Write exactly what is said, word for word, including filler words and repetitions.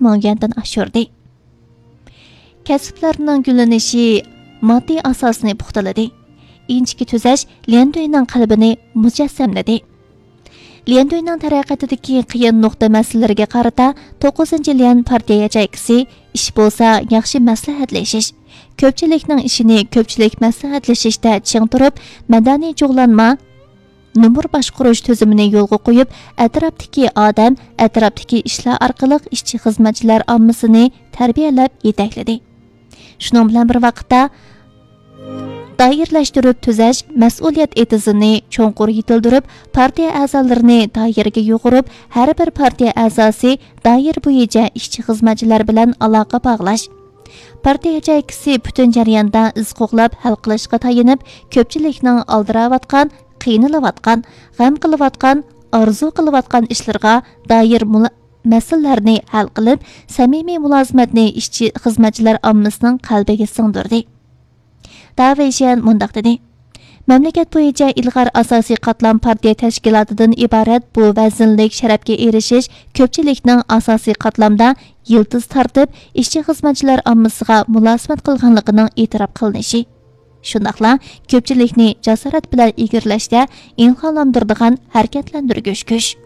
مىڭ يۈەندىن ئاشۇردى. كەسىپلەرنىڭ گۈللىنىشى ماددىي ئاساسنى پۇختىلىدى. ئىنچىكە تۈزەش ليەندۈينىڭ قەلبىنى مۇجەسسەملىدى. ليەندۈينىڭ تەرەققىياتىدىكى قىيىن نۇقتا مەسىلىلىرىگە قارىتا، توققۇزىنچى ليەن پارتىيە ياچېيكىسى ئىش بولسا ياخشى مەسلىھەتلىشىش، كۆپچىلىكنىڭ ئىشىنى كۆپچىلىك مەسلىھەتلىشىشتە چىڭ تۇرۇپ، مەدەنىي جۇغلانما، نومۇر باشقۇرۇش تۈزۈمىنى يولغا قويۇپ، ئەتراپتىكى ئادەم، ئەتراپتىكى ئىشلار ئارقىلىق ئىشچى خىزمەتچىلەر ئاممىسىنى تەربىيەلەپ يېتەكلىدى. شۇنىڭ بىلەن بىر ۋاقىتتا، دائىرىلەشتۈرۈپ تۈزەش مەسئۇلىيەت ئېتىزىنى چوڭقۇر يېتىلدۈرۈپ، پارتىيە ئەزالىرىنى دائىرىگە يۇغۇرۇپ، ھەر بىر پارتىيە ئەزاسى دائىرە بويىچە ئىشچى خىزمەتچىلەر بىلەن ئالاقە باغلاش، پارتىيە ياچېيكىسى پۈتۈن جەرياندا ئىز قوغلاپ ھەل قىلىشقا تايىنىپ، كۆپچىلىكنىڭ ئالدىراۋاتقان، قىينىلىۋاتقان، غەم قىلىۋاتقان، ئارزۇ قىلىۋاتقان ئىشلىرىغا دائىر مۇلا-، مەسىلىلەرنى ھەل قىلىپ، سەمىمىي مۇلازىمەتنى ئىشچى خىزمەتچىلەر ئاممىسىنىڭ قەلبىگە سىڭدۈردى. داۋېيشيەن مۇنداق دېدى: مەملىكەت بويىچە ئىلغار ئاساسىي قاتلام پارتىيە تەشكىلاتىدىن ئىبارەت بۇ ۋەزىنلىك شەرەپكە ئېرىشىش كۆپچىلىكنىڭ ئاساسىي قاتلامدا يىلتىز تارتىپ، ئىشچى خىزمەتچىلەر ئاممىسىغا مۇلازىمەت قىلغانلىقىنىڭ ئېتىراپ قىلىنىشى، شۇنداقلا كۆپچىلىكنى جاسارەت بىلەن ئىگىلەشتە ئىلھاملاندۇرىدىغان ھەرىكەتلەندۈرگۈچ كۈچ.